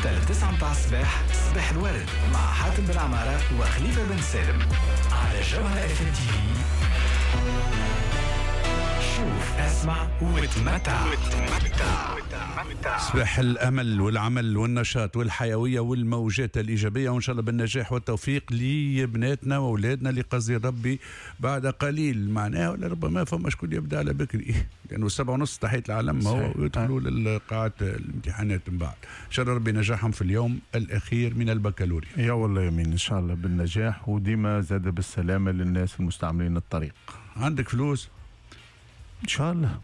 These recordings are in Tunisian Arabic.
6 ل 9 متاع الصباح، صباح الورد مع حاتم بن عمارة وخليفة بن سالم على جوهرة اف ام تي في. شوف، اسمع وتمتع. صباح الامل والعمل والنشاط والحيوية والموجات الايجابيه، وان شاء الله بالنجاح والتوفيق لبناتنا واولادنا اللي قصدي ربي بعد قليل معناها، ولا ربما فما شكون يبدا على بكري، لانه 7:30 تحية العلم هو يدخلوا للقاعات الامتحانات من بعد. ان شاء الله ربي نجاحهم في اليوم الاخير من البكالوريا. يا والله يمين، ان شاء الله بالنجاح، وديما زاد بالسلامة للناس المستعملين الطريق. عندك فلوس؟ ان شاء الله،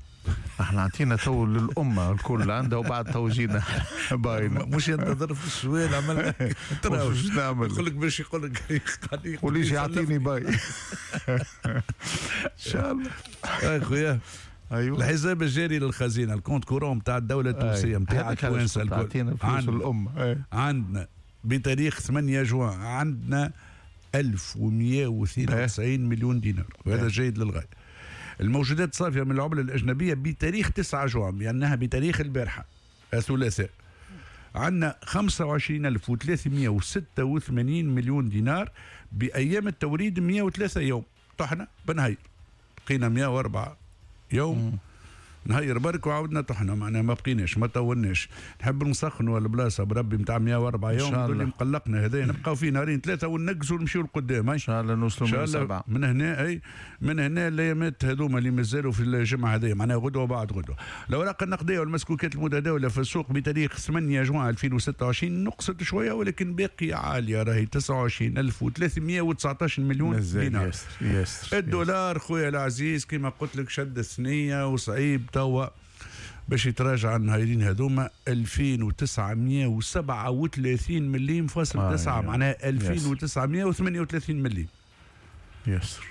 احنا عطينا تو للامة الكل عندها، وبعد تو جينا باينه. مش ينتظر في السؤال، عمل واش نعمل؟ يقول لك باش يقول لك. وليش يعطيني باي ان شاء الله. يا خويا، ايوه، الحساب الجاري للخزينه، ال compte courant نتاع الدولة التونسية نتاع التوانسة الكل، عطينا فلوس الامه. عندنا بتاريخ 8 جوان عندنا 1192 مليون دينار، وهذا جيد للغايه. الموجودات الصافية من العملة الأجنبية بتاريخ 9 جوان، لأنها بتاريخ البارحة الثلاثاء، عندنا 25386 مليون دينار، بأيام التوريد 103 يوم. طحنا بنهير، بقينا 104 يوم. نهير برك وعاودنا طحنا، معناها ما بقيناش، ما طولناش. نحب نسخنوا البلاصة بربي نتاع 104 يوم اللي مقلقنا هذا، نبقاو فيه نهارين ثلاثة وننقزوا ونمشيو لقدام. ان شاء الله نوصلوا من سبعة. من هنا، اي من هنا الايامات هذوما اللي مازالوا في الجمعة هذه، معناها غدوه وبعد غدوه. الاوراق النقدية والمسكوكات المتداولة في السوق بتاريخ 8 جوان 2026 نقصت شوية ولكن باقية عاليه، راهي 29319 مليون دينار. ياسر ياسر. الدولار خويا العزيز كما قلت لك شد الثنية وصعيب توا باش يتراجع النهارين هذوما، 2937 مليم فاصل 9، معناها 2938 مليم. ياسر.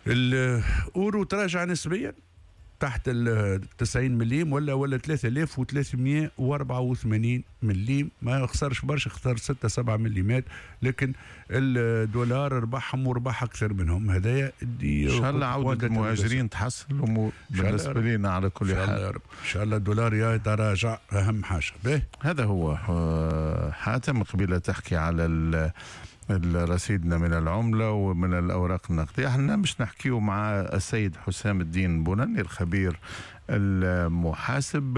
الاورو تراجع نسبيا تحت ال 90 مليم ولا 3384 مليم، ما خسرش برشا، خسر 6 7 مليمات، لكن الدولار ربحهم وربح اكثر منهم. هذايا ان شاء الله عودة المهاجرين تحسن الامور بالنسبة لنا على كل حال. يا رب ان شاء الله الدولار يتراجع، اهم حاجة به. هذا هو حاتم، قبيلة تحكي على رصيدنا من العملة ومن الأوراق النقدية. احنا مش نحكيه مع السيد حسام الدين بوناني الخبير المحاسب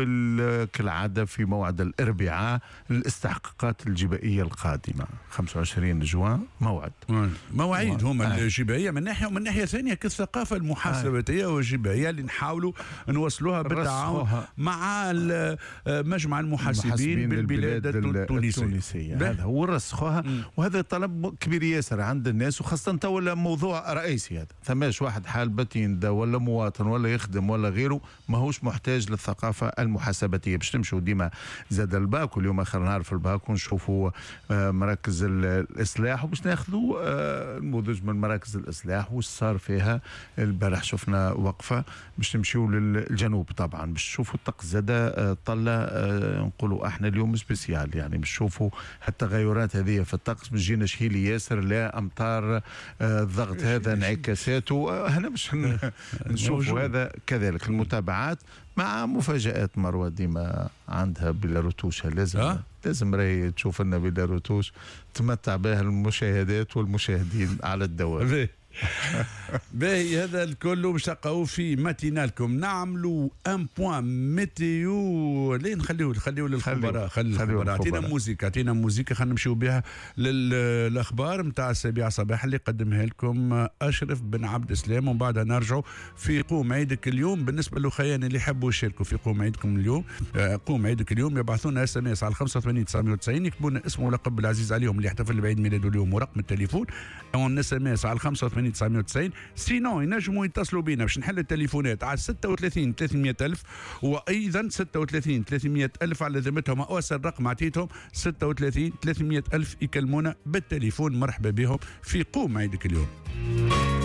كالعادة في موعد الأربعاء، الاستحقاقات الجبائية القادمة 25 جوان موعد. مواعيد هما الجبائية من ناحية، ومن ناحية ثانية كالثقافة المحاسباتية والجبائية اللي نحاولوا نوصلوها بالتعاون مع مجمع المحاسبين بالبلاد التونسية. هذا هو، رسخوها، وهذا طلب كبير ياسر عند الناس، وخاصة تو موضوع رئيسي هذا. ثماش واحد حال بتين ولا مواطن ولا يخدم ولا غيره ماهوش محتاج للثقافة المحاسباتية. باش نمشوا ديما زاد الباك، واليوم آخر نهار في الباك، ونشوفوا مراكز الإصلاح، وباش ناخذوا نموذج من مراكز الإصلاح وش صار فيها. البارح شفنا وقفة باش نمشيو للجنوب طبعا، باش نشوفوا الطقس زاد طلع، نقولوا احنا اليوم spécial، يعني باش نشوفوا التغيرات هذه في الطقس، باش جينا شهيلي ياسر، لا أمطار، الضغط هذا انعكاساته، هنا باش نشوفوا هذا. كذلك المتابعات مع مفاجآت مروة ديما عندها بلا رتوش، لازم لازم راهي تشوف لنا بلا رتوش تمتع بها المشاهدات والمشاهدين على الدوام. باهي، هذا الكل باش تلقاوه في matinale كم. نعملوا un point météo، لين نخليو للخبراء، خلي الخبراء. اعطينا موزيكا، اعطينا موزيكا، خلينا نمشيو بها للاخبار نتاع 7 صباح اللي قدمها لكم اشرف بن عبد السلام، ومن بعدها نرجعوا في قوم عيدك اليوم. بالنسبة للخيان اللي يحبوا يشاركوا في قوم عيدكم اليوم، قوم عيدك اليوم، يبعثوا لنا SMS على 85 990، يكتبوا لنا اسمه ولقب العزيز عليهم اللي يحتفل بعيد ميلاده اليوم ورقم التليفون en SMS على 85 990. sinon ينجموا يتصلوا بينا باش نحل التليفونات على 36 300 ألف، وأيضا 36 300 ألف على ذمتهم، أوصل رقم عطيتهم 36 300 ألف، يكلمونا بالتليفون. مرحبا بهم في قوم عيدك اليوم.